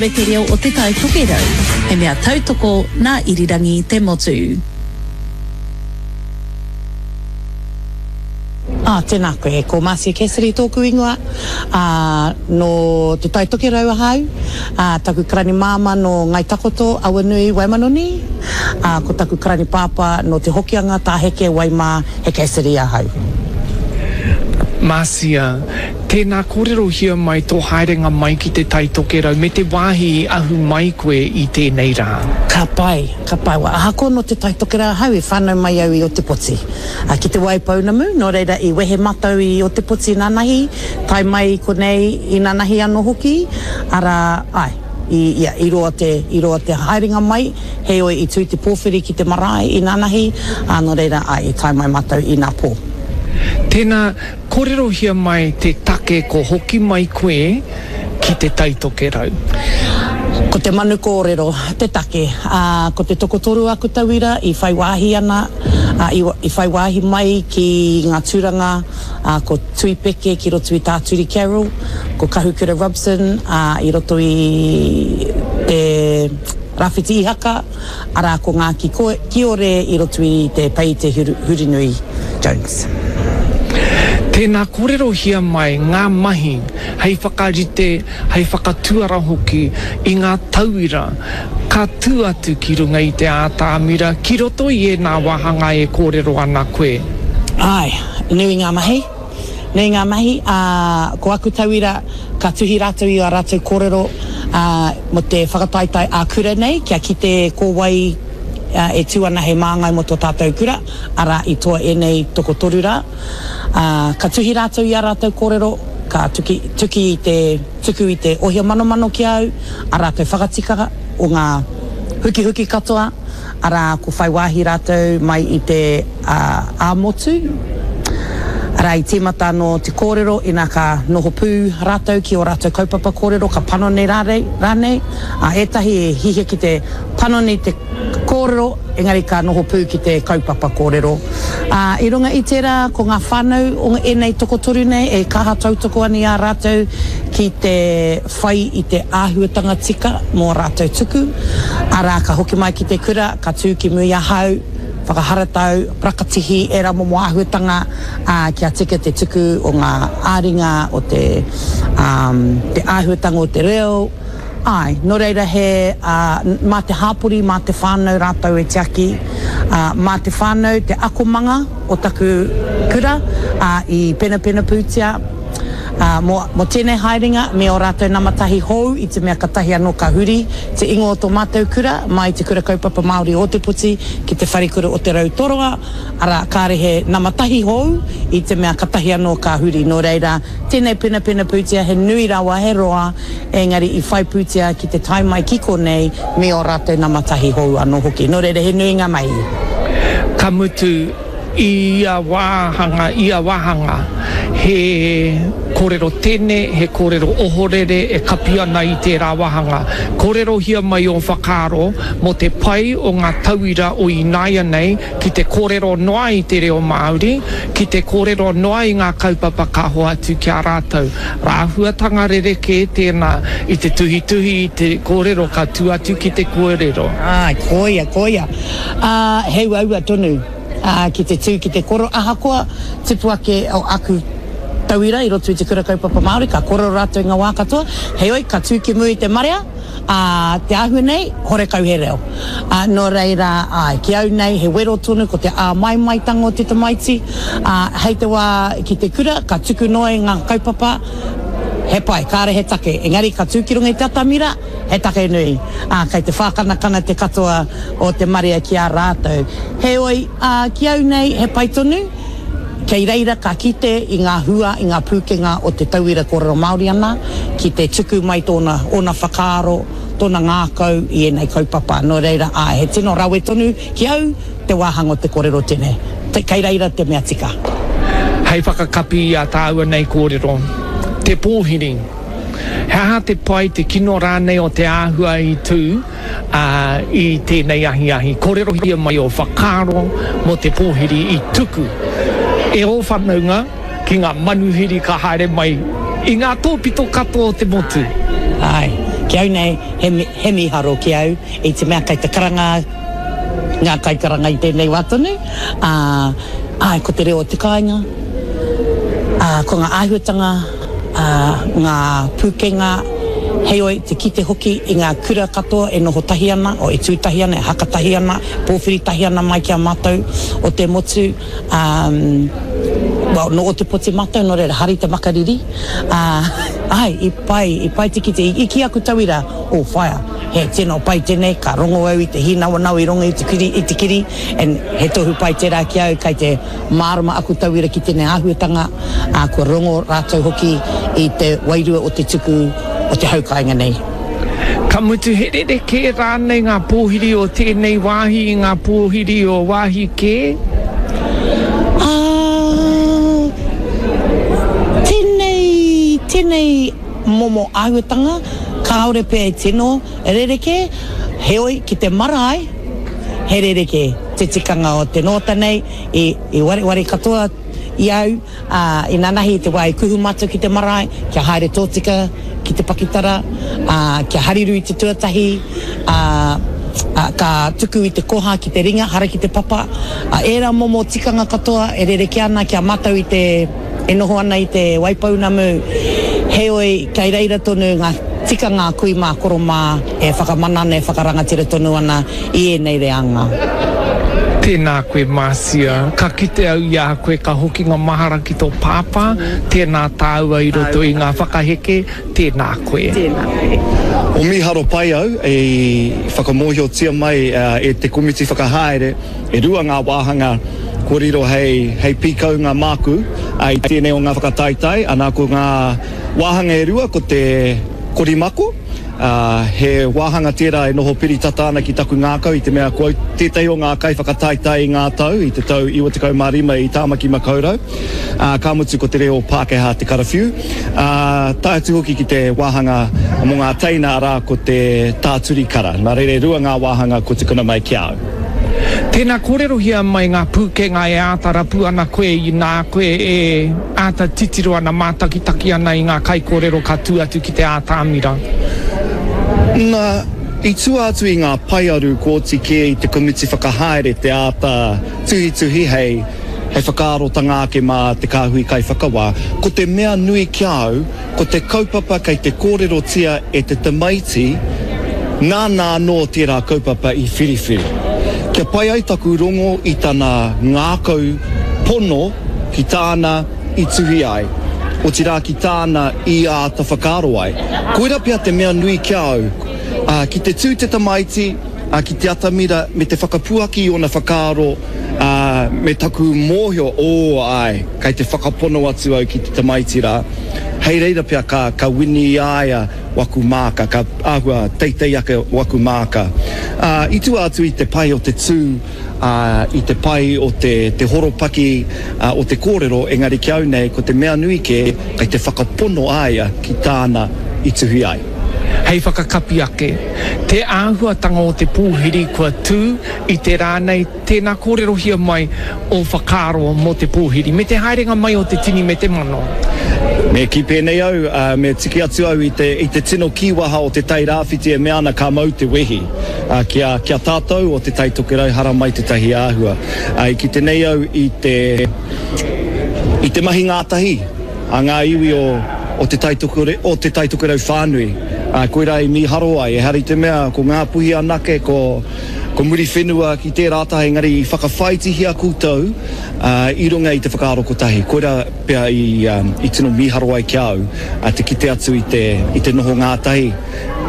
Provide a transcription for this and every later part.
Me te reo o Te Tai Tokerau, he mea tautoko nā Irirangi Te Motu. Ā, tēnā koe. Ko Marcia Cassidy tōku ingoa, ā, nō Te Tai Tokerau ahau, ā, taku karani māmā nō Ngai Takoto, Awanui, Waimanoni, ā, ko taku karani pāpā nō Te Hokianga, Tāheke, Waimā, he Cassidy ahau. Marcia, Tēnā kōrerohia mai tō haerenga mai ki Te Tai Tokerau me te wāhi i ahu mai koe i tēnei rā. Ka pai, ka pai. Well, ahakoa nō Te Tai Tokerau ahau, i whānau mai au i Otepoti, ki Te Waipounamu, nō reira i wehe matou i Otepoti nanahi, tae mai i konei i nanahi anō hoki, arā, āe, i, ia, i roa te, i roa te haerenga mai, heoi i tū te pōwhiri ki te marae i nanahi, ā, nō reira, āe, i tae mai matou i nā pō. Tēnā, Kōrerohia mai te take ko hoki mai koe ki Te Tai Tokerau. Ko te manu kōrero te take, ā, ko te tokotoru aku tauira i whai wāhi ana, ā, i, i whai wāhi mai ki ngā tūranga, ā, ko Tui Peke ki roto i tā Turi Carroll, ko Kahukura Robson, ā, i roto i te Rāwhiti Ihaka, arā ko Ngāki Kiore i roto i te Pei Te Hurinui Jones. Tēnā kōrerohia mai ngā mahi hei whakarite, hei whakatuara hoki i ngā tauira ka tū atu ki runga i te ātamira ki roto i ēnā wāhanga e kōrero ana koe. Āe, nui ngā mahi. Nui ngā mahi, ā, ko aku tauira ka tuhi rātou i ā rātou kōrero, ā, mō te whakataetae ā-kura nei, kia kite ko wai e tū ana hei māngai mō tō tātou kura, arā, i toa ēnei tokotoru rā. Ā, ka tuhi rātou i ā rātou kōrero, ka tuki, tuki i te, tuku i te ohia manomano ki a au, ā rātou whakatika o ngā hukihuki katoa, arā, ko whai wāhi rātou mai i te ā-motu, arā, i tīmata anō te kōrero ina ka noho pū rātou ki ō rātou kaupapa kōrero, ka panoni rānei, ā, ētahi e hihia ki te panoni te kōrero, engari ka noho pū ki te kaupapa kōrero. Ā, i runga i tērā, ko ngā whānau o ēnei tokotoru nei e kaha tautoko ana i a rātou ki te whai i te āhuatanga tika mō rātou tuku, arā, ka hoki mai ki te kura, ka tū ki muri ahau, whakaharatau, parakatihi, ērā momo āhuatanga, ā, kia tika te tuku o ngā ā-ringa, o te, ā, te āhuatanga o te reo, āe, nō reira he, ā, mā te hāpori, mā te whānau rātou e tiaki, ā, mā te whānau te akomanga o taku kura, ā, i penapena pūtea. Ā, mō, mō tēnei haerenga me ō rātou nama tahi hou i te mea katahi anō ka huri te ingoa o tō mātou kura mai Te Kura Kaupapa Māori o Ōtepoti ki Te Wharekura o Te Rau Toroa, arā, kāre he nama tahi hou i te mea katahi anō ka huri. Nō reira, tēnei penapena pūtea he nui rawa, he roa, engari i whai pūtea ki te tae mai ki konei me ō rātou nama tahi hou anō hoki. Nō reira, he nui ngā mahi. Ka mutu, I ia wāhanga, ia wāhanga, he kōrero tene, he kōrero ohorere e kapi ana i tērā wāhanga. Kōrerohia mai ō whakaaro mō te pai o ngā tauira o ināianei ki te kōrero noa i te reo Māori, ki te kōrero noa i ngā kaupapa ka hoatu ki a rātou. Rāhuatanga rerekē tēnā i te tuhituhi i te kōrero ka tū atu ki te kōrero. Āe, koia, koia. Ā, he uaua tonu. ā, ki te tū ki te koro, ahakoa tupu ake o aku tauira i roto i te kura kaupapa Māori, ka kōrero rātou i ngā wā katoa, heoi, ka tū ki mua i te marea, ā, te āhua nei, horekau he reo. Ā, nō reira, āe, ki au nei, he wero tonu ko te āmaimaitanga o te tamaiti, ā, hei te wā ki te kura, ka tuku noa i ngā kaupapa, he pai, kāre he take, engari ka tū ki runga i te atamira, He take nui, ā, kei te whākanakana te katoa o te marea ki a rātou. Heoi, ā, ki au nei, he pai tonu, kei reira ka kite i ngā hua, i ngā pūkenga o te tauira kōrero Māori ana, ki te tuku mai tōna, ōna whakaaro, tōna ngākau i ēnei kaupapa. Nō reira, āe, he tino rawe tonu ki au te wāhanga o te kōrero tene. Kei reira te mea tika. Hei whakakapi i ā tāua nei kōrero, te pōhiri. He aha te pai, te kino rānei o te āhua i tū i tēnei ahiahi? Kōrerohia mai ō whakaaro mō te pōhiri i tuku e ō whanaunga ki ngā manuhiri ka haere mai i ngā tōpito katoa o te motu. Āe. Ki au nei, he, he mīharo ki au, i te mea kei te karanga ngā kaikaranga i tēnei wā tonu, ā, āe, ko te reo o te kāinga, ā, ko ngā āhuatanga, ā, ngā pūkenga, heoi, te kite hoki i ngā kura katoa e noho tahi ana, o e tū tahi ana, e haka tahi ana, pōwhiri tahi ana mai ki a mātou o te motu, ā, well, nō Ōtepoti mātou, nō reira, hari te makariri, ā, āe, i pai, i pai te kite, i kī aku tauira, oh, whaea, he tino pai tēnei, ka rongo au i te hīnawanau i runga i te kiri, i te kiri, and he tohu pai tērā ki au, kei te mārama aku tauira ki tēnei āhuatanga, ā, kua rongo rātou hoki i te wairua o te tuku o te hau kāinga nei. Ka mutu he rerekē rānei ngā pōhiri o tēnei wāhi i ngā pōhiri o wāhi kē? Ā, tēnei, tēnei momo āhuatanga kāore pea e tino rerekē, heoi ki te marae he rerekē te tikanga o te nōta nei, i, i wareware katoa i au, ā, inanahi i te wā i kuhu mātou ki te marae, kia haere tōtika ki te pakitara, ā, kia hariru i te tuatahi, ā, ā, ka tuku i te koha ki te ringa, hara ki te papa, ā, ērā momo tikanga katoa e rerekē ana ki a mātou i te, e noho ana i Te Waipounamu, heoi, kei reira tonu ngā tikanga a kui mā, koro mā e whakamana ana, e whakarangatira tonu ana i ēnei reanga. Tēnā koe Marcia, ka kite au i a koe ka hoki ngā mahara ki tō pāpā, tēnā tāua i roto i ngā whakaheke, tēnā koe. Tēnā koe. O mīharo pai au i whakamōhiotia mai e te komiti whakahaere e rua ngā wāhanga kua riro hei hei pīkaunga māku i tēnei o ngā whakataetae, ana ko ngā wāhanga e rua ko te korimako, ā, he wāhanga tērā e noho piri tata ana ki taku ngākau i te mea ko au tētahi o ngā kaiwhakataetae i ngā tau, i te tau 95 i Tāmaki Makaurau, ā, ka mutu ko te reo Pākehā te karawhiu, ā, tae atu hoki ki te wāhanga mō ngā teina, arā, ko te tāturi kara. Nā reira e rua ngā wāhanga kua tukuna mai ki a au. Tēnā kōrerohia mai ngā pūkenga e āta rapu ana koe inā koe e āta titiro ana, mātakitaki ana i ngā kaikōrero ka tū atu ki te ātamira. Nā, i tua atu i ngā paearu kua oti kē i te komiti whakahaere te āta tuhituhi hei hei whakaarotanga ake mā te kāhui kaiwhakawā, ko te mea nui ki a au, Ko te kaupapa kei te kōrerotia e te tamaiti, nāna anō tērā kaupapa i whiriwhiri. Kia pai ai taku rongo i tana ngākau pono ki tāna i tuhi ai, otirā ki tāna i āta whakaaro ai. Koira pea te mea nui ki a au, ā, ki te tū te tamaiti, ā, ki te atamira me te whakapuaki i ōna whakaaro, ā, me taku mōhio, ō, āe, kei te whakapono atu au ki te tamaiti rā, hei reira pea ka, ka wini i a ia waku māka, ka āhua teitei ake waku māka. Ā, i tua atu i te pai o te tū, ā, i te pai o te, te horopaki, ā, o te kōrero, engari ki au nei, ko te mea nui kē, kei te whakapono a ia ki tāna i tuhi ai. Hei whakakapi ake, te āhuatanga o te pōhiri kua tū i te rā nei, Tēnā kōrerohia mai ō whakaaro mō te pōhiri, me te haerenga mai o te tini me te mano. Me kī pēnei au, me tiki atu au i te, i te tino kīwaha o Te Tai Rāwhiti e mea ana ka mau te wehi ki a, ki a tātou o Te Tai Tokerau haramai tētahi āhua. I kite nei au i te, i te mahi ngātahi a ngā iwi o, o Te Tai Tokore, o Te Tai Tokerau whānui. Koirā i mīharo ai, ehara i te mea ko Ngāpuhi anake, ko. Ko Muriwhenua ki tērā taha engari i whakawhāitihia koutou i runga i te whakaaro kotahi. Koirā pea i tino mīharo ai ki a au te kite atu i te, i te noho ngātahi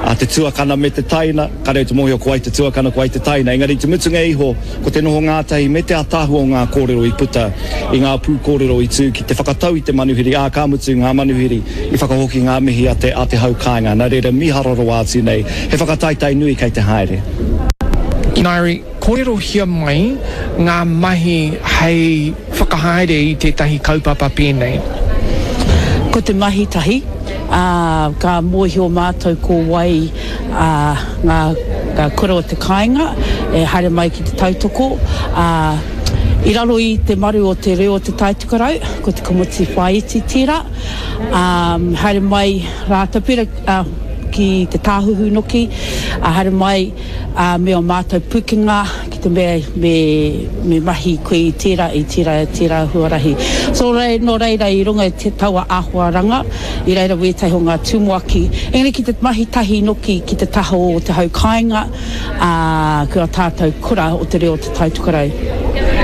a te tuakana me te taina, kāre au te mōhio ko wai te tuakana, ko wai te taina, engari i te mutunga iho ko te noho ngātahi me te ātaahua o ngā kōrero i puta i ngā pūkōrero i tū ki te whakatau i te manuhiri, ā, ka mutu ngā manuhiri i whakahoki ngā mihi a te, a te hau kāinga. Nā reira mīharo rawa atu nei. He whakataetae nui kei te haere. Ngaire, kōrerohia mai ngā mahi hei whakahaere i tētahi kaupapa pēnei. Ko te mahi tahi, ā, ka mōhio mātou ko wai ngā kura o te kāinga e haere mai ki te tautoko, ā, i raro i te maru o te reo o Te Taitokerau, ko te komiti whāiti tērā, ā, haere mai rātou, pērā, ā. ki te tāhuhu noki, ā, haere mai, ā, me ō mātou pūkenga ki te mea me, me mahi koe i tērā, i tērā, tērā huarahi. So, rei, nō reira i runga i te taua āhuaranga, i reira wētahi o ngā tumuaki, engari ki te mahi tahi noki ki te taha o te hau kāinga, ā, ki ō tātou kura o te reo o Te Tai Tokerau.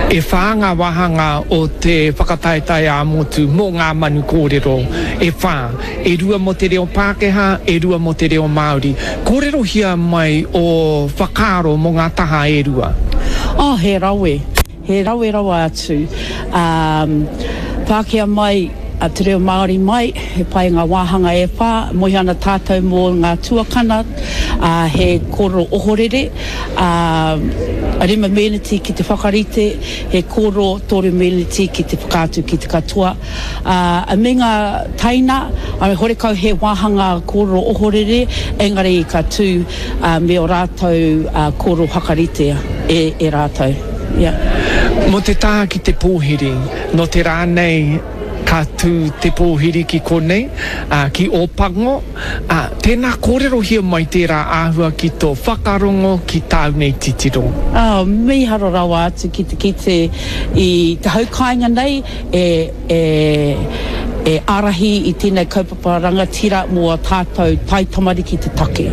E whā ngā wāhanga o te whakataetae ā-motu mō Ngā Manu Kōrero e whā, e rua mō te reo Pākehā, e rua mō te reo Māori. Kōrerohia mai ō whakaaro mō ngā taha e rua. Oh, he rawe. He rawe rawa atu. Pākehā mai, te reo Māori mai, he pai ngā wāhanga e whā, moe ana tātou mō ngā tuakana, ā, he kōrero ohorere, ā, rima meneti ki te whakarite, he kōrero toru meneti ki te whakaatu ki te katoa, ā, me ngā teina, ā, horekau he wāhanga kōrero ohorere, engari ka tū, ā, me ō rātou, ā, kōrero whakaritea e, e rātou. Yeah. Mō te taha ki te pōhiri, nō te rā nei ka tū te pōhiri ki konei, ā, ki Ōpango, ā, tēnā kōrerohia mai tērā āhua ki tō whakarongo, ki tāu nei titiro. Ā, mīharo rawa atu ki te kite i te hau kāinga nei e, e, e ārahi i tēnei kaupapa rangatira mō ā tātou taitamariki te take.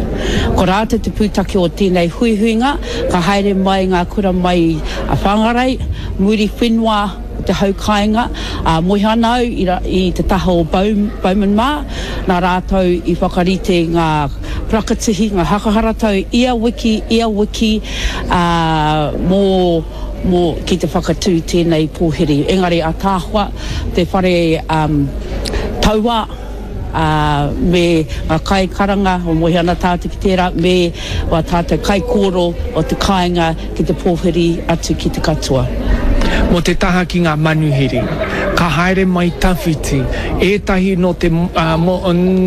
Ko rātou te pūtake o tēnei huihuinga, ka haere mai ngā kura mai i Whangarei, Muriwhenua, o te hau kāinga, ā, moe ana au i, i te taha o Bowman mā, nā rātou i whakarite ngā parakatihi, ngā hakaharatau ia wiki, ia wiki, ā, mō, mō, ki te whakatū tēnei pōhiri. Engari ataahua te whare, um, taua, ā, me ngā kaikaranga, o moe ana tātou ki tērā, me wā tātou kaikōro o te kāinga ki te pōhiri atu ki te katoa. Mō te taha ki ngā manuhiri, ka haere mai tawhiti, ētahi nō te, ā, mō,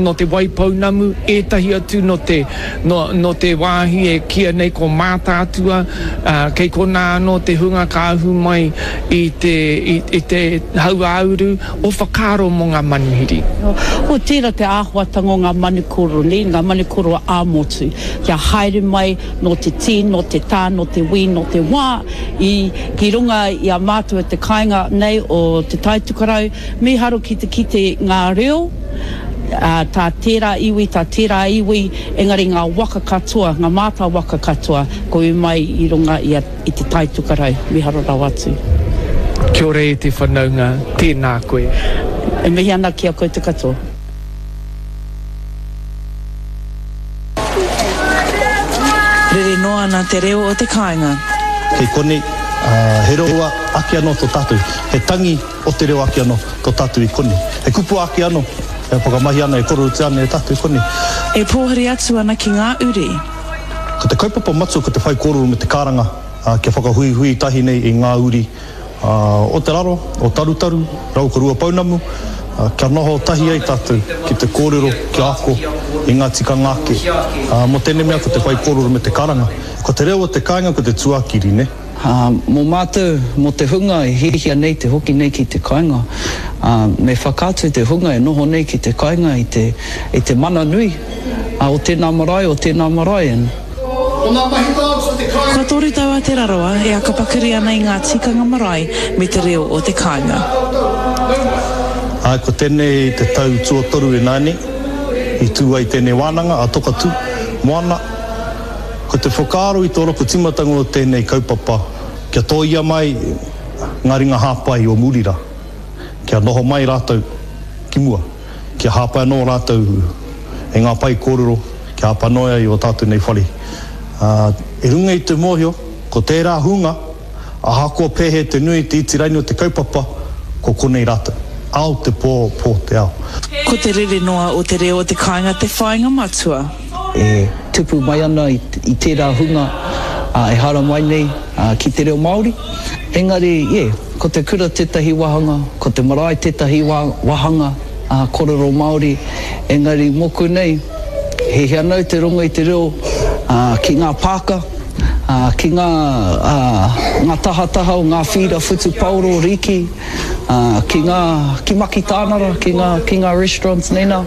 nō Te Waipounamu, ētahi atu nō te, nō, nō te wāhi e kīia nei ko Mātaatua, ā, kei konā anō te hunga ka ahu mai i te, i, i te hauāuru, Ō whakaaro mō ngā manuhiri. Ko tērā te āhuatanga o ngā manu kōrero nei, ngā manu kōrero ā-motu, kia haere mai nō te tī, nō te tā, nō te wī, nō te wā, i, ki runga i a mātou e te kāinga nei o Te Taitokerau, mīharo ki te kite ngā reo, ā, tā tērā iwi, tā tērā iwi, engari ngā waka katoa, ngā mātā waka katoa, kua ū mai i runga i a. I te Tai Tokerau, miharo rawa atu. Kia ora e te whanaunga, tēnā koe. E mihi ana ki a koutou katoa. Rere noa ana te reo o te kāinga. Kei konei, he reo ake anō tō tātou, he tangi o te reo ake anō tō tātou i konei. He kupu ake anō e whakamahia ana, e kororutia ana e tātou i konei. E pōhiri atu ana ki ngā uri. Ko te kaupapa matua ko te whaikōrero me te karanga kia whakahuihui tahi nei i ngā uri o Te Raro, o Tarutaru, rau ko Ruapounamu, kia noho tahi ai tātou ki te kōrero, kia ako i ngā tikanga ake. Mō tēnei mea ko te whaikōrero me te karanga. Ko te reo o te kāinga ko te tuakiri, nē. Ā, mō mātou, mō te hunga e hiahia nei te hoki nei ki te kāinga, ā, me whakaatu te hunga e noho nei ki te kāinga i te, i te mana nui, ā, o tēnā marae, o tēnā marae, and. Kua tau a Te Rarawa e akapakari ana i ngā tikanga marae me te reo o te kāinga. Āe, ko tēnei te tau tuatoru ināianei i tū ai tēnei wānanga a Tokatū Moana. Ko te whakaaro i tō roko timatanga o tēnei kaupapa kia tōia mai ngā ringa hāpai o muri rā, kia noho mai rātou ki mua, kia hāpai anō rātou i ngā pae kōrero, kia hāpai anō ai i ō tātou nei whare. Ā, i runga i te mōhio, ko tērā hunga, ahakoa pēhea te nui, te iti raini o te kaupapa, ko konei rātou. Ao te pō, pō te ao. Ko te rere noa o te reo o te kāinga te whāinga matua. E tupu mai ana i tērā hunga e haramai nei ki te reo Māori. Engari, yeah, ko te kura tētahi wāhanga, ko te marae tētahi wāhanga kōrero Māori, engari mōku nei, hiahia ana au te rongo i te reo ki ngā pāka, ki ngā, ngā tahataha o ngā whīra whutupaoro, riki, ki ngā, ki Makitānara, ki ngā, ki ngā restaurants nei nā.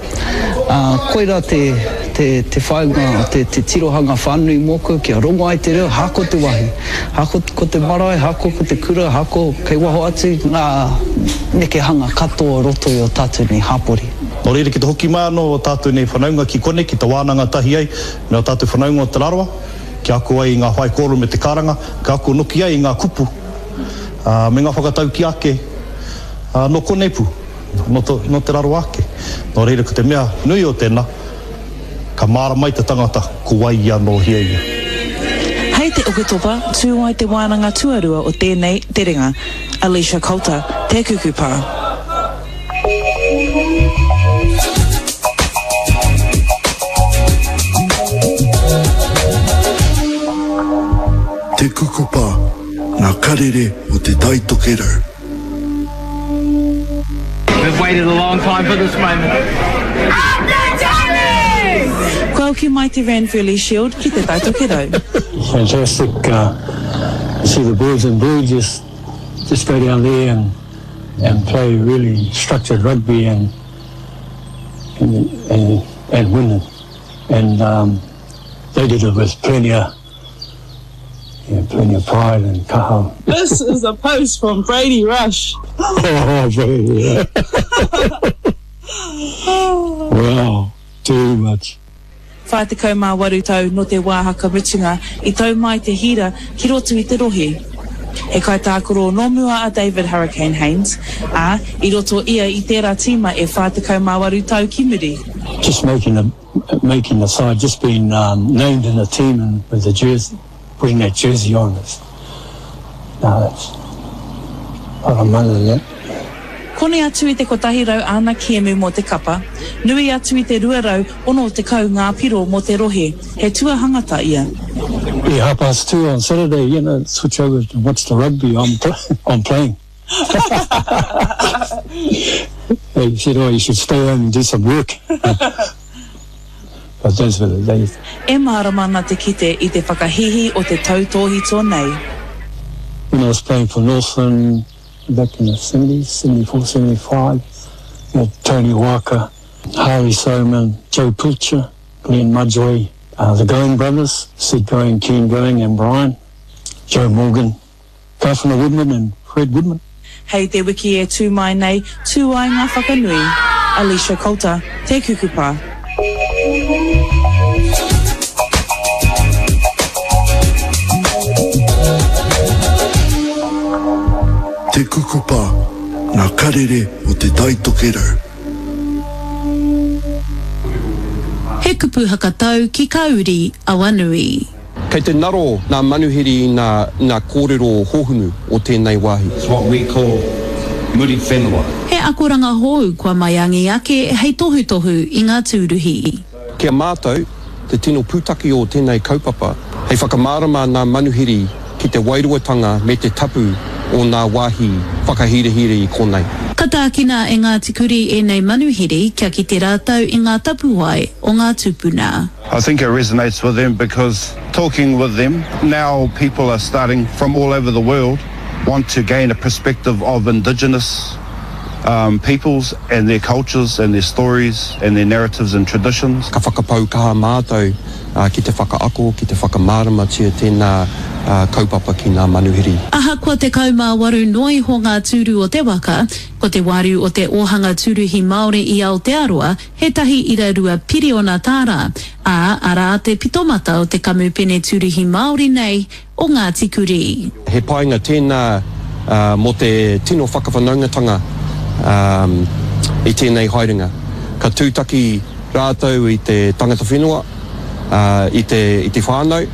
Koirā te, te. te, te whāinga, te, te tirohanga whānui mōku, kia rongo ai te reo, hako te wāhi, hako ko te marae, hako ko te kura, hako kei waho atu ngā nekehanga katoa o roto i ō tātou nei hapori. Nō reira, ki te hoki mai anō ō tātou nei whanaunga ki konei, ki te wānanga tahi ai me ō tātou whanaunga o Te Rarawa, kia ako ai i ngā whaikōrero me te karanga, kia ako noki ai i ngā kupu, ā, me ngā whakataukī ake, ā, nō konei pū. Nō Te Rarawa ake. Nō reira, ko te mea nui o tēnā, ka mārama ai te tangata ko wai ia nō hea ia. Hei te Oketopa, tū ai te wānanga tuarua o tēnei terenga. Alicia Coulter, Te Kukupa. Te Kukupa, ngā karere o Te Tai Tokerau. We've waited a long time for this moment. Up the Tommies! Kua hoki mai te Ranfurly Shield ki Te Tai Tokerau. Fantastic to see the boys in blue just just go down there and and play really structured rugby and and and, and win and um, they did it with plenty of yeah, plenty of pride and kaha. This is a post from Brady Rush. Oh, Brady. wow, too much. 48 tau nō te wā haka mutunga i tau mai te hira ki roto i te rohe. He kaitākaro nō mua a David Hurricane Haynes, ā, i roto ia i tērā tīma e 48 tau ki muri. Just making the, making the side, just being um, named in the team and with the jersey, putting that jersey on is, no, that's a lot of money in that. Koni atu i te 100 āna kēmu mō te kapa, nui atu i te 260 ngā piro mō te rohe, he tuahangata ia. Yeah, 2:30 on Saturday, you know, switch over to watch the rugby, I'm, I'm playing. He said, oh, you should stay home and do some work. But those were the days. E mārama ana te kite i te whakahīhī o te tautōhito nei. When I was playing for Northland back in the 70s, 74, 75, we had Tony Walker, Harry Soman, Joe Pilcher, Glenn Mudgeway, uh, the Going brothers, Sid Going, Ken Going and Brian, Joe Morgan, Gafner Woodman and Fred Woodman. Hei te wiki e tū mai nei, tū ai ngā whakanui. Alicia Coulter, Te Kukupa. Te Kukupa, ngā karere o Te Tai Tokerau. He kupu hakatau ki ka uri Awanui. Kei te ngaro ngā manuhiri i ngā, ngā kōrero hōhunu o tēnei wāhi. It's what we call Muriwhenua. He akoranga hou kua maiangi ake hei tohutohu i ngā tūruhi. Ki a mātou, te tino pūtake o tēnei kaupapa, hei whakamārama ngā manuhiri ki te wairuatanga me te tapu o ngā wāhi whakahirahira i konei. Ka tākina e Ngāti Kurī ēnei manuhiri kia kite rātou i ngā tapuwae o ngā tūpuna. I think it resonates with them because talking with them, now people are starting from all over the world want to gain a perspective of indigenous um, peoples and their cultures and their stories and their narratives and traditions. Ka whakapau kaha mātou ki te whakaako, ki te whakamāramatia tēnā kaupapa ki ngā manuhiri. Ahakoa 18 noa iho ngā tūru o te waka, ko te wāriu o te ōhanga tūruhi Māori i Aotearoa he 1.2 piriona tāra, ā, arā te pitomata o te kamupene tūruhi Māori nei o Ngāti Kurī. He painga tēnā mō te tino whakawhanaungatanga i tēnei haerenga. Ka tūtaki rātou i te tangata whenua, i te, i te whānau,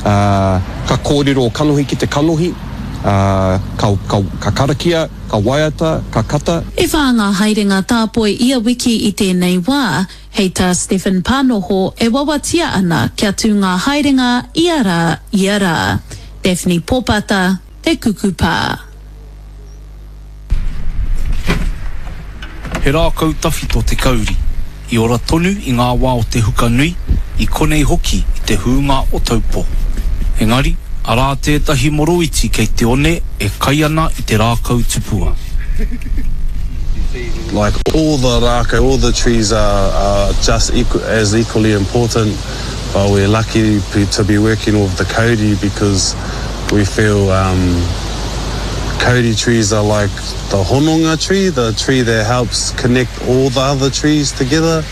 ka kōrero kanohi ki te kanohi, ka, ka, ka karakia, Ka waiata, ka kata. E whā ngā haerenga tāpoi ia wiki i tēnei wā, hei tā Stephen Panoho e wawatia ana kia tū ngā haerenga ia rā, ia rā. Daphne Popata, Te Kuku Pā. He rākau tawhito te kauri, i ora tonu i ngā wā o te huka nui, i konei hoki i te hūnga o Taupō. Engari, arā tētahi moroiti kei te one e kai ana i te rākau tupua. Like all the rākau, all the trees are, are just equal, as equally important, but we're lucky to be working with the kauri because we feel um, kauri trees are like the hononga tree, the tree that helps connect all the other trees together.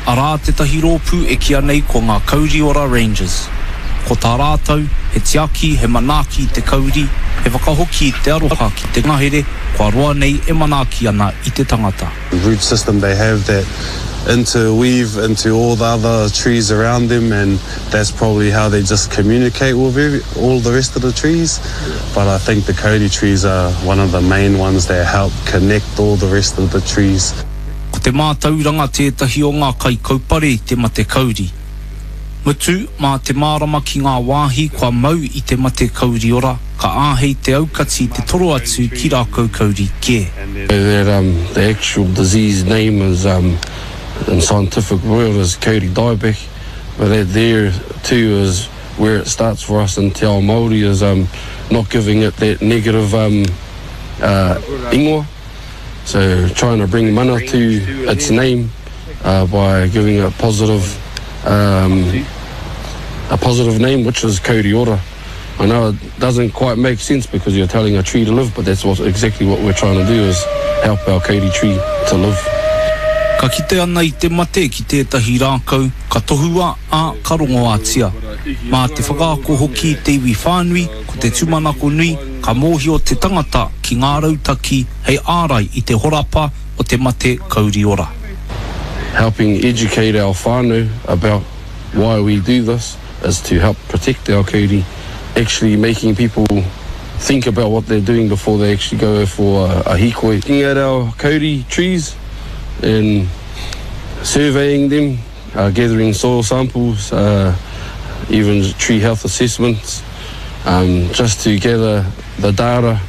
Arā tētahi rōpū e kīa nei ko ngā Kauri Ora Rangers. Ko tā rātou, he tiaki, he manaaki i te kauri, he whakahoki i te aroha ki te ngahere kua roa nei e manaaki ana i te tangata. Root system they have that interweave into all the other trees around them and that's probably how they just communicate with every, all the rest of the trees. But I think the kauri trees are one of the main ones that help connect all the rest of the trees. Ko te mātauranga tētahi o ngā kaikaupare i te mate kauri. Mutu, mā te mārama ki ngā wāhi kua mau i te mate kauri ora, ka āhei te aukati te toro atu ki rākau kauri kē. That um the actual disease name is um in scientific world is kauri dieback but that there too is where it starts for us in te ao Māori is um not giving it that negative um uh ingoa. So trying to bring mana to its name uh, by giving it positive, um, a positive name, which is Kauri Ora. I know it doesn't quite make sense because you're telling a tree to live, but that's what, exactly what we're trying to do is help our kauri tree to live. Ka kite ana i te mate ki tētahi rākau, ka tohua, ā, ka rongoātia. Mā te whakaako hoki i te iwi whānui, ko te tūmanako nui, ka mōhio te tangata ki ngā rautaki hei ārai i te horapa o te mate kauri ora. Helping educate our whānau about why we do this is to help protect our kauri, actually making people think about what they're doing before they actually go for a, a hīkoi. Looking at our kauri trees and surveying them, uh, gathering soil samples, uh, even tree health assessments, um, just to gather the data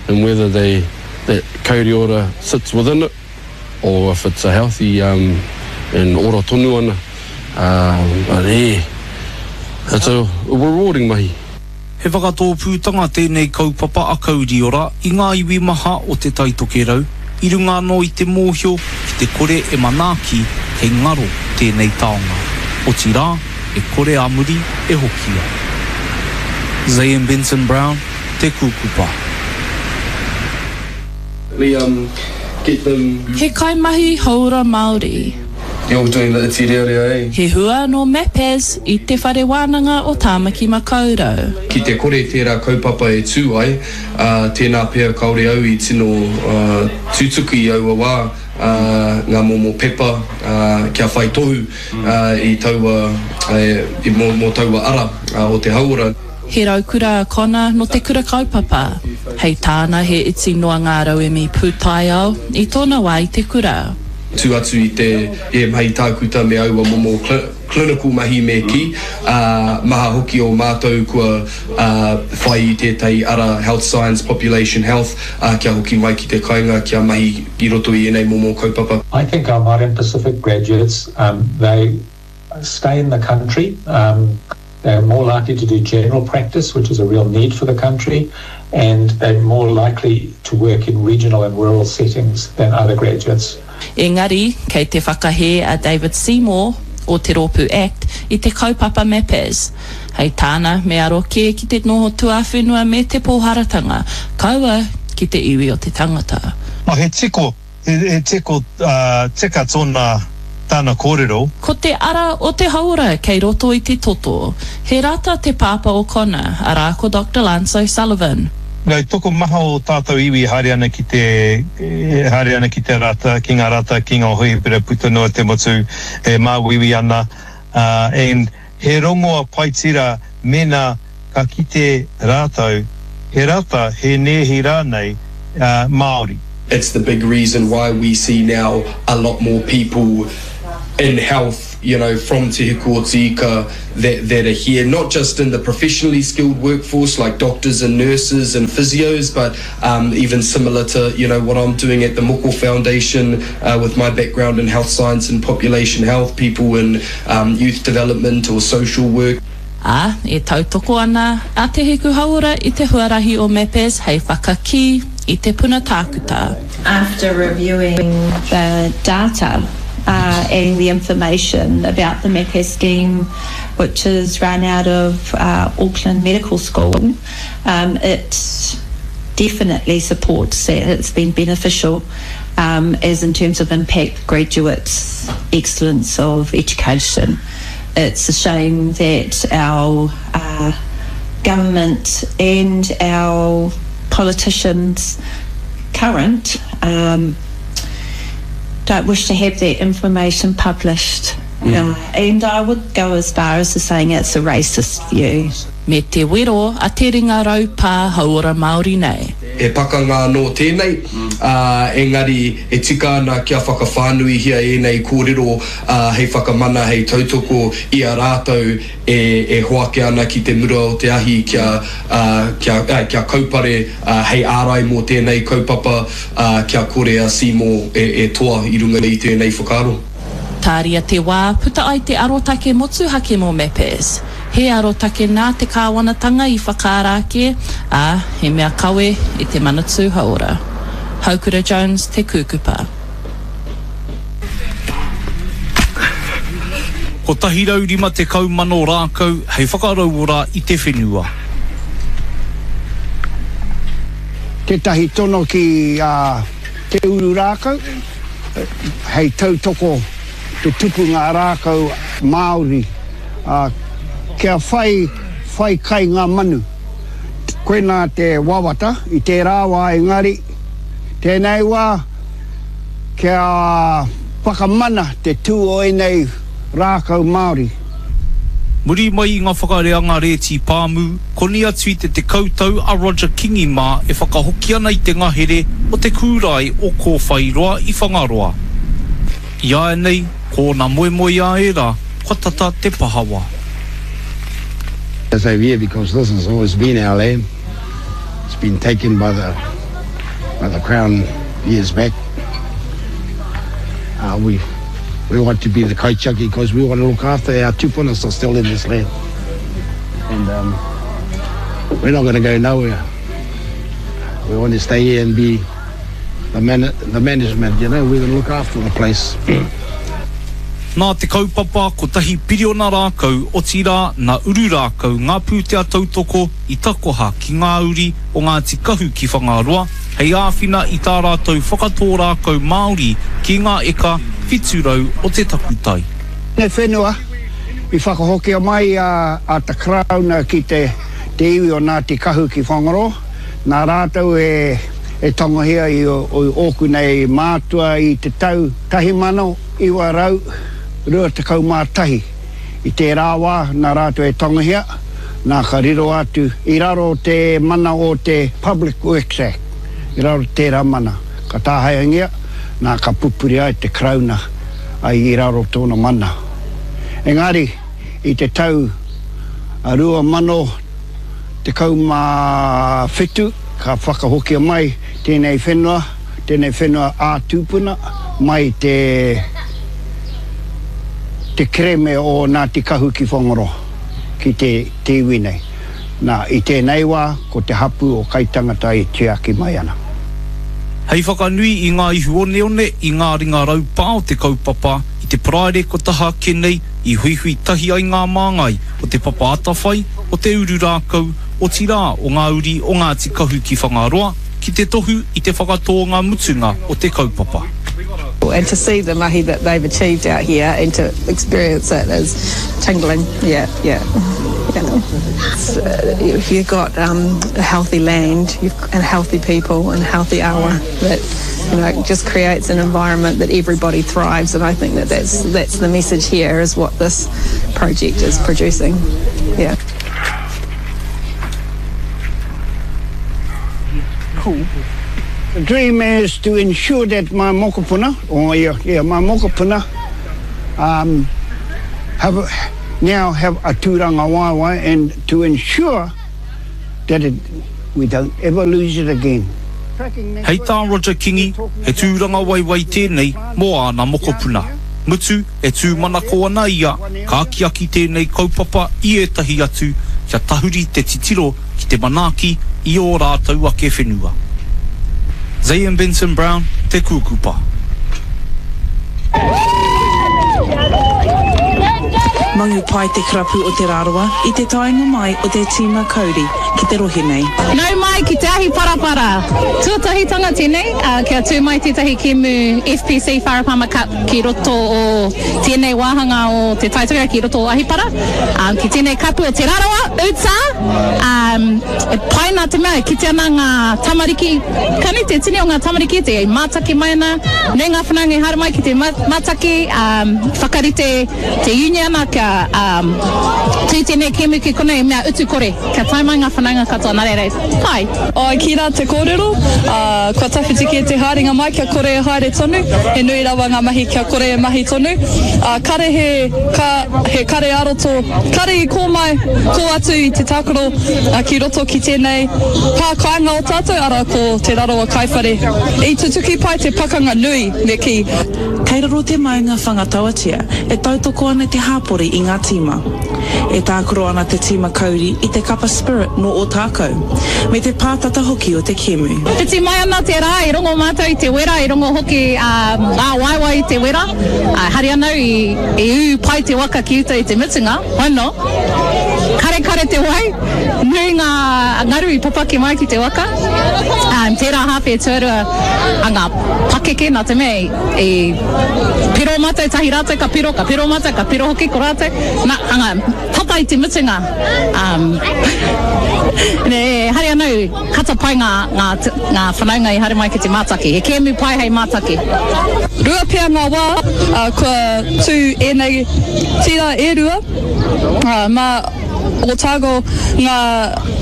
and whether they, that kauri ora sits within it or if it's a healthy um, and ora tonu ana. Um, but yeah, it's a rewarding mahi. He whakatōpūtanga tēnei kaupapa a Kauri Ora i ngā iwi maha o Te Tai Tokerau, i runga anō i te mōhio ki te kore e manaaki kei ngaro tēnei taonga. Otirā, e kore a muri e hokia. Zayn Benson Brown, Te Kūkupa. Me um get them. He kaimahi hauora Māori. You're doing the iti rearea eh? He hua nō Mapaz i Te Whare Wānanga o Tāmaki Makaurau. Ki te kore tērā kaupapa e tū ai, ā, tēnā pea kāore au i tino tutuki i aua wā, ā, ngā momo pepa, ā, kia whai tohu, ā, i taua, ā, mō, mō taua ara, ā, o te hauora. He raukura a Connor nō te kura kaupapa. Hei tāna he iti noa ngā rauemi pūtaiao i tōna wā i te kura. Tū atu i te e mahi tākuta me aua momo clinical mahi me kī, ā, maha hoki o mātou kua whai i tētahi ara health science, population health, ā, kia hoki mai ki te kainga kia mahi i roto i ēnei momo kaupapa. I think our Māori and Pacific graduates, um, they stay in the country, um, They're more likely to do general practice, which is a real need for the country, and they're more likely to work in regional and rural settings than other graduates. Engari, kei te whakahē a David Seymour o te rōpū act i te kaupapa Mapaz. Hei tāna, me aro kē ki te noho tuawhenua me te pōharatanga, kaua ki te iwi o te tangata. Oh, he tiko He tiko tika tona tana korero. Ko te ara o te hauora kei roto i te toto. He rata te pāpā o Connor, arā ko Doctor Lance O'Sullivan. No, tokomaha o tātou iwi e haere ana ki te, e haere ana ki te rata, ki ngā rata, ki ngā hohipera puta noa te motu e māuiui ana, and he rongoa pai tira mena ka kite rātou he rata, he nēhi rānei Māori. It's the big reason why we see now a lot more people in health, you know, from Te Hiku o Te Ika that, that are here, not just in the professionally skilled workforce like doctors and nurses and physios, but um, even similar to, you know, what I'm doing at the Moko Foundation uh, with my background in health science and population health, people in um, youth development or social work. Ā, e tautoko ana a Te Hiku Hauora i te huarahi o Mapaz hei whakakī i te puna tākuta. After reviewing the data and the information about the MAPAS scheme which is run out of Auckland Medical School, it definitely supports that it's been beneficial as in terms of impact graduates, excellence of education. It's a shame that our government and our politicians current um, don't wish to have that information published. Mm. Uh, and I would go as far as to saying it's a racist view. Me te wero a te ringa raupā hauora Māori nei. He pakanga anō tēnei, ā, engari e tika ana kia whakawhānuihia ēnei kōrero, ā, hei whakamana, hei tautoko i a rātou e, e hoake ana ki te mura o te ahi kia, ā, kia, ā, kia kaupare, ā, hei ārai mō tēnei kaupapa, ā, kia kore a Seymour e, e toa i runga i tēnei whakaaro. Tāria te wā, puta ai te arotake motuhake mō MAPAS. He arotake nā te kāwanatanga i whakaara ake, ā, he mea kawe e te Manatū Hauora. Haukura Jones, Te Kūkupa. 150,000 rākau hei whakarauora i te whenua. Tētahi tono ki a Te Uru Rākau hei tautoko te tupunga rākau Māori kia whai whai kai ngā manu. Koinā te wawata i tērā wā engari tēnei wā kia whakamana te tū o ēnei rākau Māori. Muri mai i ngā whakareanga rēti pāmu, koni atu i te tekau tau a Roger Kingi mā e whakahoki ana i te ngahere o te kūrae o Kōwhairoa i Whangaroa. I āianei, ko ōna moemoeā ērā, kua tata te pahawa. I say yeah because this has always been our land. It's been taken by the by the crown years back. Uh, we we want to be the kaitiaki because we want to look after our tupunas are still in this land. And um, we're not going to go nowhere. We want to stay here and be the, man the management, you know, we're going to look after the place. Nā te kaupapa Kotahi Piriona Rākau, otirā, nā Uru Rākau ngā pūtea tautoko i takoha ki ngā uri o Ngāti Kahu ki Whangaroa hei āwhina i tā rātou whakatō rākau Māori ki ngā eka 700 o te takutai. Te whenua i whakahokia mai a te Karauna ki te iwi o Ngāti Kahu ki Whangaroa, nā rātou e tangohia i ōku nei mātua i te tau 1921. I tērā wā, nā rātou e tangohia, nā ka riro atu i raro te mana o te Public Works Act, i raro tērā mana, ka tāhaeangia, nā ka pupuri ai te Karauna ai i raro tōna mana. Engari, i te tau 2017 ka whakahokia mai tēnei whenua, tēnei whenua ā-tūpuna mai te te kereme o Ngāti Kahu ki Whangaroa, ki te te iwi nei. Nā, i tēnei wā, ko te hapū o Kaitangata e tiaki mai ana. Hei whakanui i ngā ihu oneone i ngā ringa raupā o te kaupapa i te Paraire kua taha ake nei i huihui tahi ai ngā māngai o Te Papa Atawhai, o Te Uru Rākau, otirā o ngā uri o Ngāti Kahu ki Whangaroa ki te tohu i te whakatōnga mutunga o te kaupapa. And to see the mahi that they've achieved out here and to experience it is tingling, yeah, yeah, yeah. If you've got um, a healthy land you've, and healthy people and healthy awa, that you know, it just creates an environment that everybody thrives and I think that that's, that's the message here is what this project is producing, yeah. Cool. The dream is to ensure that my mokopuna, or yeah, yeah, my mokopuna, um, have a, now have a tūrangawaewae and to ensure that it, we don't ever lose it again. Hei tā Roger Kingi, he tūrangawaewae tēnei mō āna mokopuna. Mutu, e tūmanako ana ia, ka akiaki tēnei kaupapa i ētahi atu kia tahuri te titiro ki te manaaki i ō rātou ake whenua. Zayan Benson Brown, Te Kūkupa. Mangu pai te karapu o Te Rarawa i te taenga mai o te tīma Kauri ki te rohe nei. Nau mai ki te ahi parapara! Tuatahitanga tēnei, kia tū mai tētahi kēmu FPC Wharepama Cup ki roto o tēnei wāhanga o Te Tai Tokerau, ki roto o Ahipara, ki tēnei kapu o Te Rarawa, uta! E pai nā te mea e kite ana ngā tamariki, ka nui te tini o ngā tamariki te mātaki mai ana, nui ngā whanaunga i haere mai ki te mātaki, whakarite te uniana kia tū tēnei kēmu ki konei, mea utu kore, kia tae mai ngā whanaunga katoa, nā reira, pai. Āe, kī rā te kōrero, ā, kua tawhiti kē te haerenga mai kia kore e haere tonu, he nui rawa ngā mahi kia kore e mahi tonu, ā, kare he, ka, he kare ā-roto, kare i kō mai, kō atu i te tākaro, ā, ki roto ki tēnei pā kāinga o tātou, arā, ko Te Rarawa Kaiwhare. I tutuki pai te pakanga nui, me kī. Kei raro te maunga Whangatauatia e tautoko ana te hāpori i ngā tīma. E tākaro ana te tīma Kauri i te kapa Spirit nō Ōtākou, me te pātata hoki o te kēmu. Whiti mai ana te rā, i rongo mātou i te wera, i rongo hoki ngā waewae i te wera. Hari ana au i ū pai te waka ki uta i te mutunga, hono, karekare te wai, nui ngā ngaru i papaki mai ki te waka. Tērā hāwhe tuarua a ngā pakeke, nā te mea i piro mātou tahi rātou ka piro, ka piro mātou, ka piro hoki ko rātou. Nā, anga, tata i te mutunga, um, e haere ana au, kata pai ngā, ngā, ngā whanaunga i haere mai ki te mātaki. He kēmu pai hei mātaki. Rua pea ngā wā, ā, kua tū ēnei tira e rua, ā, mā Otago ngā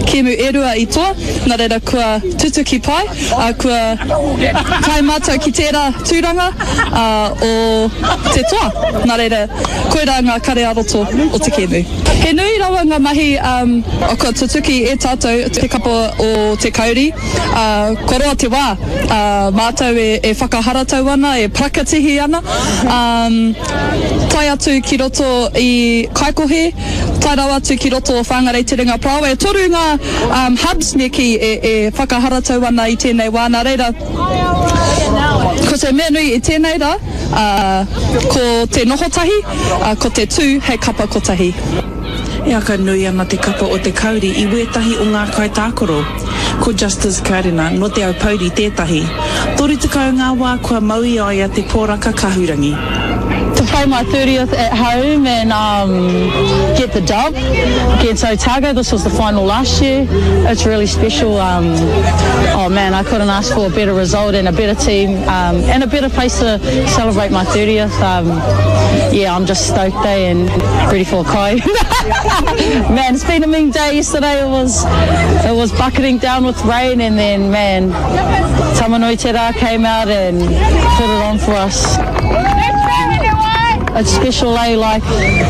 kēmu e rua i toa, nā reira kua tutuki pai, ā, kua tae mātou ki tērā tūranga, ā, o te toa. Nā reira, koirā ngā kare ā-roto o te kēmu. He nui rawa ngā mahi kua tutuki e tātou te kapa o Te Kauri, ā, kua roa te wā, ā, mātou e whakaharatau ana, e parakatihi ana, ā, tae atu ki roto i Kaikohe, Tae rawa atu ki roto o Whangarei Te Ringa Parāoa. E toru ngā hubs me kī e whakaharatau ana i tēnei wā. Nā reira, ko te mea nui i tēnei rā, ko te noho tahi, ko te tū hei kapa kotahi. E aka nui ana te kapa o Te Kauri i wētahi o ngā kaitākaro. Ko Justice Karena nō Te Aupōuri tētahi. 30 ngā wā kua mau i a ia te poraka kahurangi. To play my 30th at home and um get the dub against Otago, this was the final last year, it's really special um oh man I couldn't ask for a better result and a better team um and a better place to celebrate my 30th um yeah I'm just stoked eh and ready for a kai. Man it's been a mean day yesterday it was it was bucketing down with rain and then man Tamanuiterā came out and put it on for us. It's special eh, like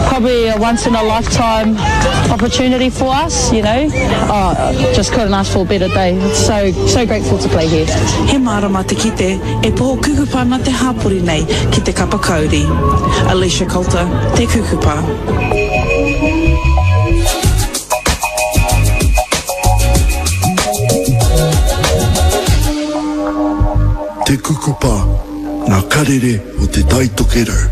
probably a once in a lifetime opportunity for us, you know. Oh, just couldn't ask for a better day. So, so grateful to play here. He mārama te kite e poho kukupa ana te hāpori nei ki te kapa kauri. Alicia Coulter, Te Kukupa. Te Kukupa, ngā karere o Te Tai Tokerau.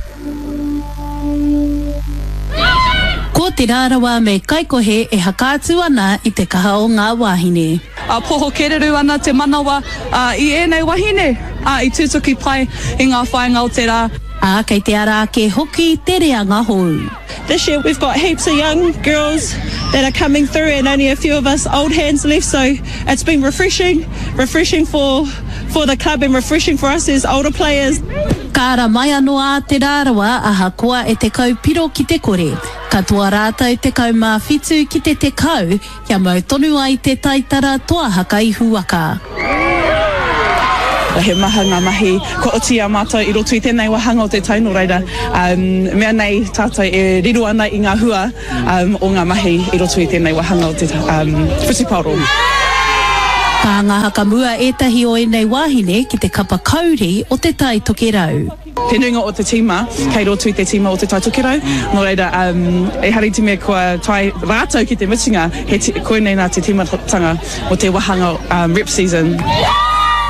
Ko Te Rarawa me Kaikohe e hakaatu ana i te kaha o ngā wāhine. A poho kereru ana te manawa i ēnei wahine, a i tutuki pai i ngā whāinga o te rā. Ā, kei te ara ake hoki te reanga hou. This year we've got heaps of young girls that are coming through and only a few of us old hands left so it's been refreshing, refreshing for for the club and refreshing for us as older players. Ka ara mai anō a Te Rarawa ahakoa e 10 piro ki te kore. Katoa rātou 17 ki te 10 Kia mau tonu ai te taitara toa haka ihuwaka. He maha ngā mahi kua oti i a mātou i roto i tēnei wāhanga o te tau, nō reira, mea nei tātou e riro ana i ngā hua o ngā mahi i roto i tēnei wāhanga o te whutupaoro. Ka anga hakamua ētahi o ēnei wāhine ki te kapa kauri o Te Tai Tokerau. Te nuinga o te tīma kei roto i te tīma o Te Tai Tokerau, nō reira, ehara i te mea kua tae rātou ki te mutunga, he koinei nā te tīmatanga o te wāhanga rep season.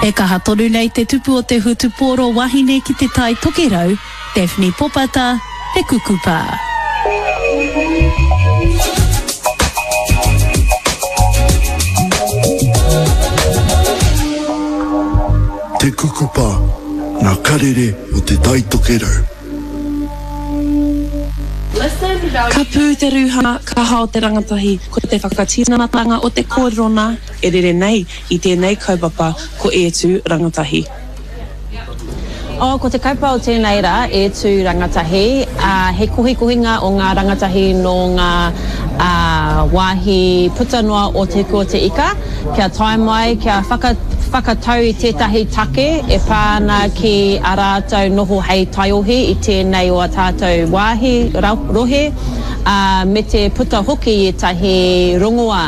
E kaha tonu nei te tupu o te hutupōro wahine ki Te Tai Tokerau, Daphne Popata, Te Kukupa. Te Kukupa, nga karere o Te Tai Tokerau. Ka pū te rūhā, ka hao te rangatahi, ko te whakatinanatanga o te kōrero nā e rere nei i tēnei kaupapa ko E Tū Rangatahi. Oh, ko te kaupapa o tēnei rā, E Tū Rangatahi, ā, he kohikohinga o ngā rangatahi nō ngā, ā, wāhi puta noa o Te Hiku o Te Ika, kia tae mai, kia whaka, whakatau i tētahi take e pā ana ki a rātou noho hei taiohi i tēnei o a tātou wāhi, rohe, ā, me te puta hoki i ētahi rongoā.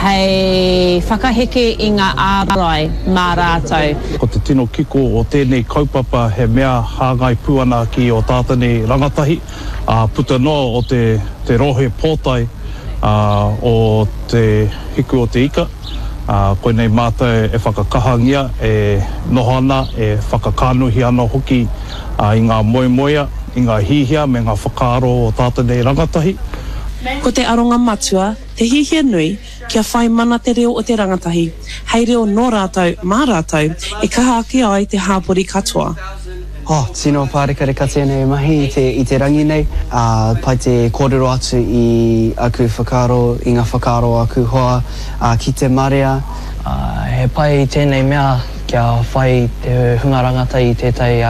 Hei whakaheke i ngā ārai mā rātou. Ko te tino kiko o tēnei kaupapa he mea hāngai pū ana ki ō tātou nei rangatahi, ā, puta noa o te te rohe pōtae o Te Hiku o Te Ika, ā, koinei mātou e whakakahangia, e noho ana, e whakakānohi ana hoki i ngā moemoea, i ngā hihia me ngā whakaaro o tātou nei rangatahi. Ko te aronga matua, Te hiahia nui kia whai mana te reo o te rangatahi, hei reo nō rātou, mā rātou, e kaha ake ai te hāpori katoa. Oh, tino pārekareka tēnei mahi i te, i te rangi nei. Ā, pai te kōrero atu i aku whakaaro, i ngā whakaaro o aku hoa, ā, ki te marea. Ā, he pai tēnei mea kia whai te hunga rangatahi i tētahi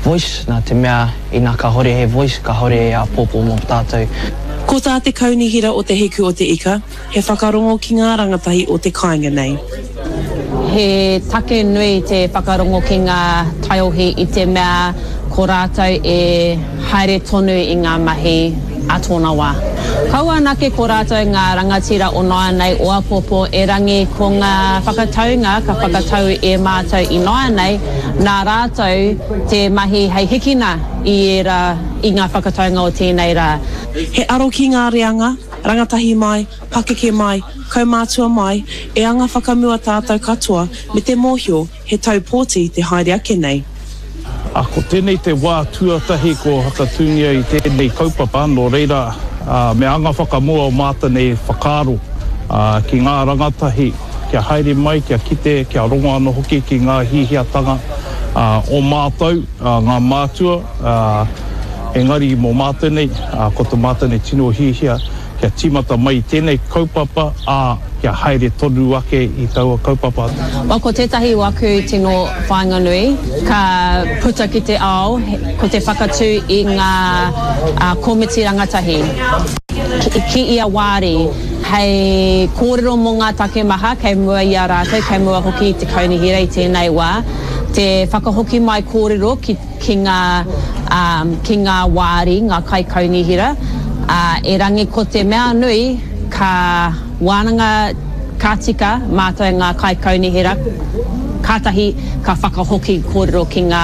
voice, nā te mea ina kāhore he voice, kāhore he āpōpō mō tātou. Ko tā te Kaunihera o Te Hiku o Te Ika, he whakarongo ki ngā rangatahi o te kāinga nei. He take nui te whakarongo ki ngā taiohi i te mea ko rātou e haere tonu i ngā mahi a tōna wā. Kaua anake ko rātou ngā rangatira o nāianei, o āpōpō, erangi ko ngā whakataunga ka whakatau e mātou ināianei, nā rātou te mahi hei hikina i ērā, i ngā whakataunga o tēnei rā. He aro ki ngā reanga, rangatahi mai, pakeke mai, kaumātua mai, e anga whakamua tātou katoa me te mōhio he tau pōti te haere ake nei. A ko tenei te wā tuatahi ko whakatūngia i tēnei kaupapa, nō reira me anga whakamua o mātou nei whakaaro ki ngā rangatahi kia haere mai, kia kite, kia rongo anō hoki ki ngā hiahiatanga o mātou, ngā mātua, engari mō mātou nei, ko to mātou nei tino hiahia kia tīmata mai i tēnei kaupapa, ā, kia haere tonu ake i taua kaupapa. Well, ko tētahi o aku tino whāinga nui ka puta ki te ao ko te whakatū i ngā komiti rangatahi ki ia wāri hei kōrero mō ngā take maha kei mua i a rātou, kei mua hoki i te kaunihera i tēnei wā, te whakahoki mai kōrero ki ki ngā, ā, ki ngā wāri, ngā kaikaunihera, ā, erangi ko te mea nui ka wānanga ka tika mātou ngā kaikaunihera, kātahi ka whakahoki kōrero ki ngā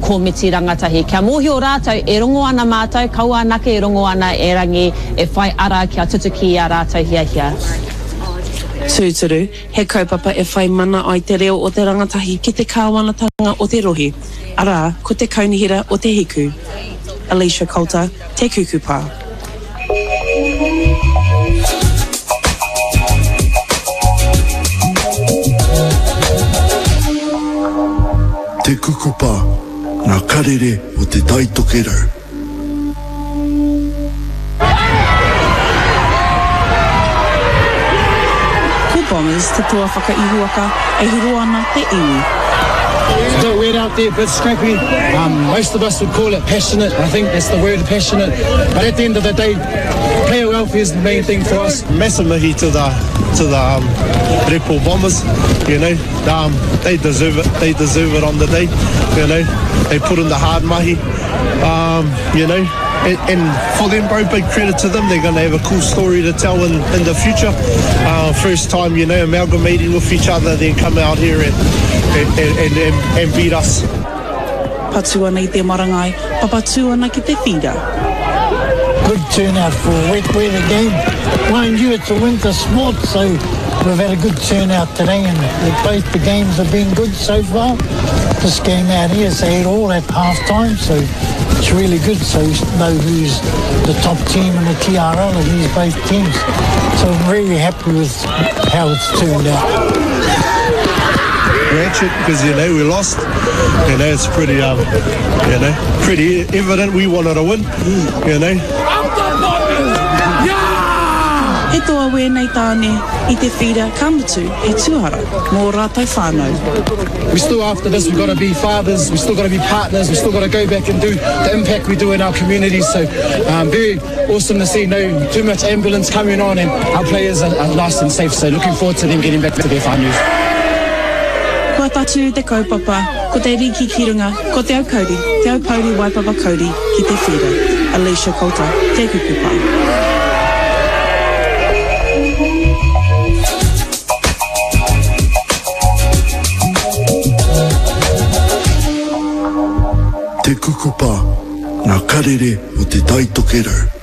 komiti rangatahi. Kia mōhio rātou e rongo ana mātou, kaua anake e rongo ana erangi e whai ara kia tutuki i ā rātou hiahia. Tūturu, he kaupapa e whai mana ai te reo o te rangatahi ki te kāwanatanga o te rohe. Arā, ko te Kaunihera o Te Hiku. Alicia Coulter, Te Kukupa. Te Kukupa, ngā karere o Te Tai Tokerau. Ko Bombers te toa whakaihuwaka e huro ana te iwi. It's a bit weird out there, bit scrappy. Um, most of us would call it passionate. I think that's the word, passionate. But at the end of the day, player welfare is the main thing for us. Massive mihi to the to the um, Red Bull Bombers. You know, um, they deserve it. They deserve it on the day. You know, they put in the hard mahi. Um, you know, and, and for them, bro, big credit to them. They're going to have a cool story to tell in, in the future. Uh, first time, you know, amalgamating with each other, then come out here and, and, and, and, and beat us. Patu ana i te marangai, papatū ana ki te whira. Good turnout for a wet weather game. Mind you, it's a winter sport, so we've had a good turnout today and both the games have been good so far. This game out here is 8 all at half time, so it's really good. So we know who's the top team in the TRL and these both teams. So I'm really happy with how it's turned out. Ratchet because you know we lost. You know it's pretty um, you know pretty evident we wanted to win. You know. He toa wēnei tāne i te whīra ka mutu he tuara mō ō rātou whānau. We still after this we've got to be fathers, we still got to be partners, we still got to go back and do the impact we do in our communities. So um, very awesome to see no too much ambulance coming on and our players are, are nice and safe. So looking forward to them getting back to their whānau. Kua tatū te kaupapa, ko te riki ki runga, ko Te Aukauri, Te Aupouri Waipapa Kauri ki te whīra. Alicia Coulter, Te Kukupa. Te Kukupa, ngā karere o Te Tai Tokerau.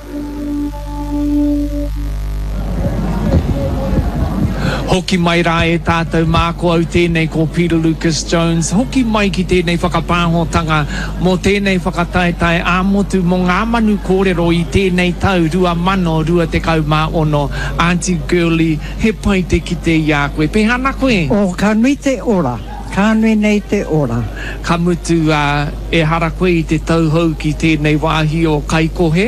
Hoki mai rā e tātou mā, ko au tēnei ko Peter Lucas Jones. Hoki mai ki tēnei whakapāhotanga mō tēnei whakataetae ā-motu mō ngā manu kōrero i tēnei tau 2026. Aunty Girlie, he pai te kite i a koe. Pēhea ana koe? Oh, ka nui te ora. Ka nui nei te ora. Ka mutu, ā, ehara koe i te tauhou ki tēnei wāhi o Kaikohe,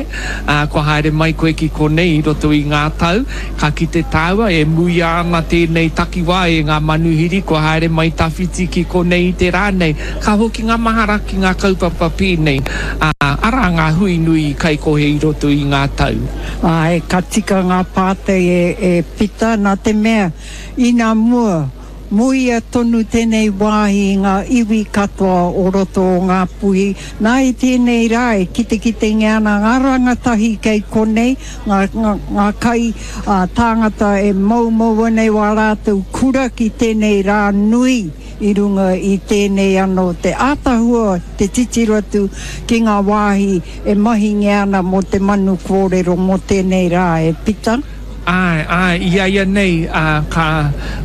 ā, kua haere mai koe ki konei i roto i ngā tau, ka kite tāua e muia ana tēnei takiwā e ngā manuhiri kua haere mai tawhiti ki konei i te rā nei. Ka hoki ngā mahara ki ngā kaupapa pēnei, ā, arā ngā hui nui i Kaikohe i roto i ngā tau. Āe, ka tika ngā pātai e Pita, nā te mea, inā mua, Muia tonu tēnei wāhi i ngā iwi katoa o roto o Ngāpuhi. Nā i tēnei rā e kitekitengia ana ngā rangatahi kei konei, ngā, ngā, ngā kai, ā, tāngata e moumou ana i wā rātou kura ki tēnei rā nui i runga i tēnei anō te ātahua te titiro atu ki ngā wāhi e mahingia ana mō te manu kōrero mō tēnei rā e Pita. Āe, āe, i a ia nei, ā, ka,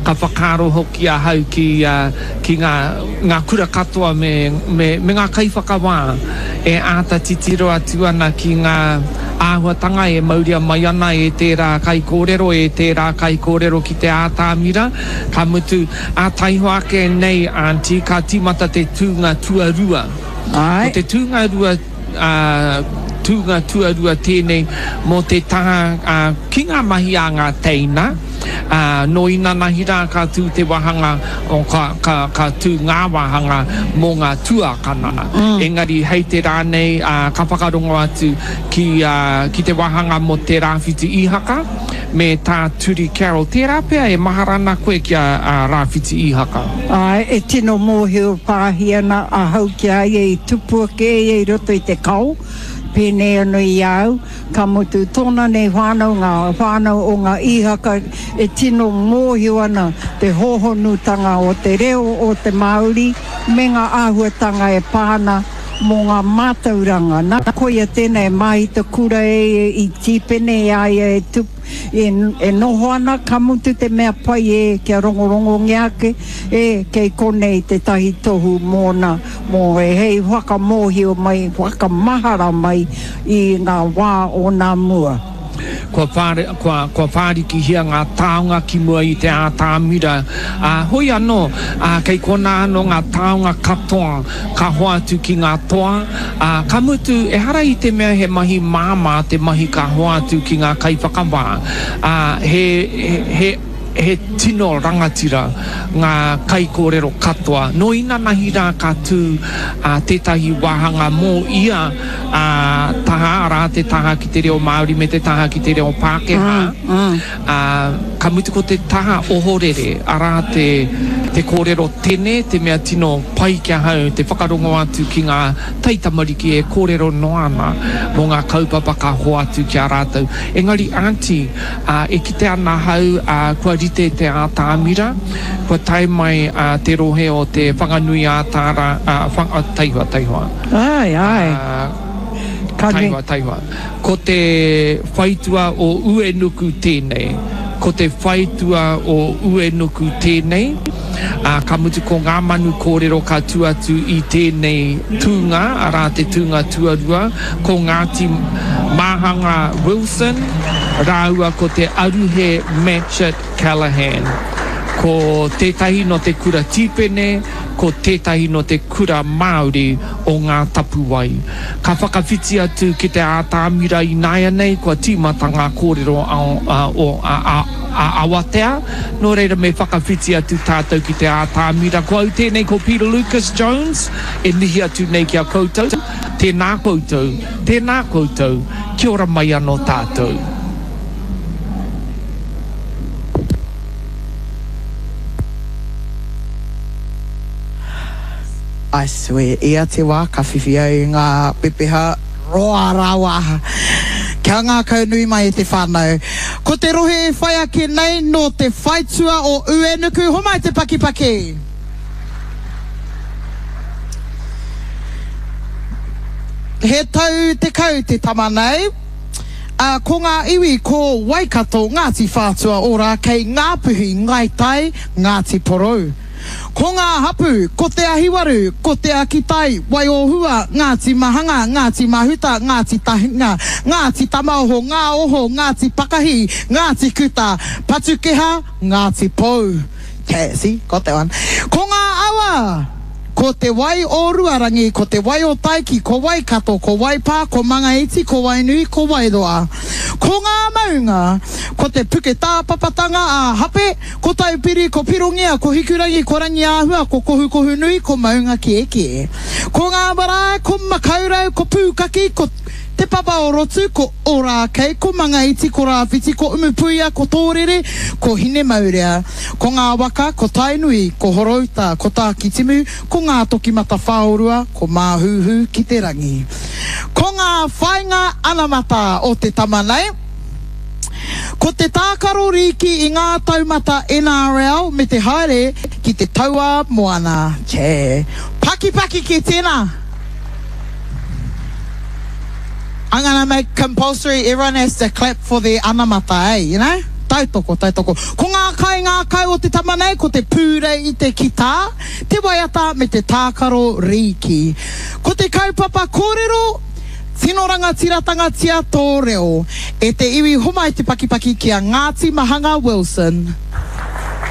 ka whakaaro hoki ahau ki, ā, ki ngā, ngā kura katoa me, me, me ngā kaiwhakawā e āta titiro atu ana ki ngā āhuatanga e mauria mai ana e tērā kaikōrero, e tērā kaikōrero ki te ātamira, ka mutu, ā, taihoa ake nei, Aunty, ka tīmata te tūnga tuarua. Āe. Ko te tūnga rua, ā, tūnga tuarua tēnei mō te taha, ā, ki ngā mahi a ngā teina, ā, nō inanahi rā ka tū te wāhanga, o, ka, ka, ka tū ngā wāhanga mō ngā tuākana. Engari hei te rā nei, ā, ka whakarongo atu ki, ā, ki te wāhanga mō Te Rāwhiti Ihaka me tā Turi Carroll. Tērā pea e mahara ana koe ki a, a Rāwhiti Ihaka. Āe, e tino mōhio pāhi ana ahau ki a ia i tupu ake ia i roto i te kao, pēnei anō i a au, ka mutu tōna nei whānau, ngā whānau o ngā Īhaka e tino mōhio ana te hōhonutanga o te reo o te Māori me ngā āhuatanga e pā ana mō ngā mātauranga. Nā, koia tēnei e māhita kura e ia i Tīpene i a ia e tupu, E noho ana, ka mutu te mea pai e kia rongorongongia ake, e, kei konei tētahi tohu mōna, mō e hei whakamōhio mai, whakamahara mai i ngā wā o nā mua. Kua whāri, kua, kua whārikihia ngā taonga ki mua i te ātamira, ā, hoi anō, ā, kei konā anō ngā taonga katoa ka hoatu ki ngā toa, ā, ka mutu, ehara i te mea he mahi māmā te mahi ka hoatu ki ngā kaiwhakawā, ā, he, he, he tino rangatira ngā kaikōrero katoa. Nō inanahi rā ka tū, ā, tētahi wāhanga mō ia, ā, taha, arā, te taha ki te reo Māori me te taha ki te reo Pākehā. Ā, ka mutu ko te taha ohorere, arā te, te kōrero tene, te mea tino pai ki ahau, te whakarongo atu ki ngā taitamariki e kōrero noa ana mō ngā kaupapa ka hoatu ki a rātou. Engari aunty, ā, e kite ana ahau, ā, kua rite te ātamira, kua tae mai, ā, te rohe o te Whanganui-ā-Tara, ā, Whang, taihoa, taihoa. Āe, āe. Ā. Ka nui. Taihoa, taihoa. Ko te whaitua o Uenuku tēnei. Ko te whaitua o Uenuku tēnei. Ā, ka mutu ko ngā manu kōrero ka tū atu i tēnei tūnga, arā te tūnga tuarua, ko Ngāti Māhanga Wilson rāua ko Te Aruhe Matchitt Callaghan. Ko tētahi nō te kura Tīpene, ko tētahi nō te kura Māori o Ngā Tapuwae. Ka whakawhiti atu ki te ātamira ināianei, kua tīmata ngā kōrero o a Awatea, nō reira me whakawhiti atu tātou ki te ātamira. Ko au tēnei ko Peter Lucas Jones e mihi atu nei ki a koutou. Tēnā koutou, tēnā koutou, kia ora mai anō tātou. I swear, ia te wā ka whiwhi au i ngā pepeha roa rawa. Kia ngākaunui mai e te whānau. Ko te rohe e whai ake nei nō te whaitua o Uenuku, homai te pakipaki! He tau 10 te tama nei. Ā, ko ngā iwi ko Waikato, Ngāti Whātua Ōrākei, Ngāpuhi, Ngāi Tai, Ngāti Porou. Ko ngā hapū, ko Te Ahiwaru, ko Te Akitai, Waiōhua, Ngāti Mahanga, Ngāti Mahuta, Ngāti Tahinga, Ngāti Tamaoho, Ngā Oho, Ngāti Pakahi, Ngāti Kuta, Patukeha, Ngāti Pou. See, got that one. Ko ngā awa! Ko te wai o Ruarangi, ko te wai o Taiki, ko Waikato, ko Waipā, ko Mangaiti, ko Wainui, ko Wairoa. Ko ngā maunga, ko te Puketāpapatanga a Hape, ko Taupiri, ko Pirongia, ko Hikurangi, ko Rangiāhua, ko Kohukohunui, ko Maungakiekie. Ko ngā marae, ko Makaurau, ko Pūkaki, ko Te Papa o Rotu, ko Ōrākei, ko Mangaiti, ko Rāwhiti, ko Umupuia, ko Tōrere, ko Hinemaurea. Ko ngā waka, ko Tainui, ko Horouta, ko Tākitimu, ko Ngātokimatawhaorua, ko Māhuhu ki te rangi. Ko ngā whāinga anamata o te tama nei, ko te tākaro rīki i ngā taumata NRL me te haere ki te tauā moana. Che. Pakipaki ki tēnā! I'm gonna make compulsory everyone has to clap for their anamata, eh, you know? Tautoko, tautoko. Ko ngā kaingākau o te tama nei, ko te pūrei i te kitā, te waiata me te tākaro rīki. Ko te kaupapa kōrero, tino rangatiratanga-tia tō reo. E te iwi homai te pakipaki ki a Ngāti Mahanga Wilson.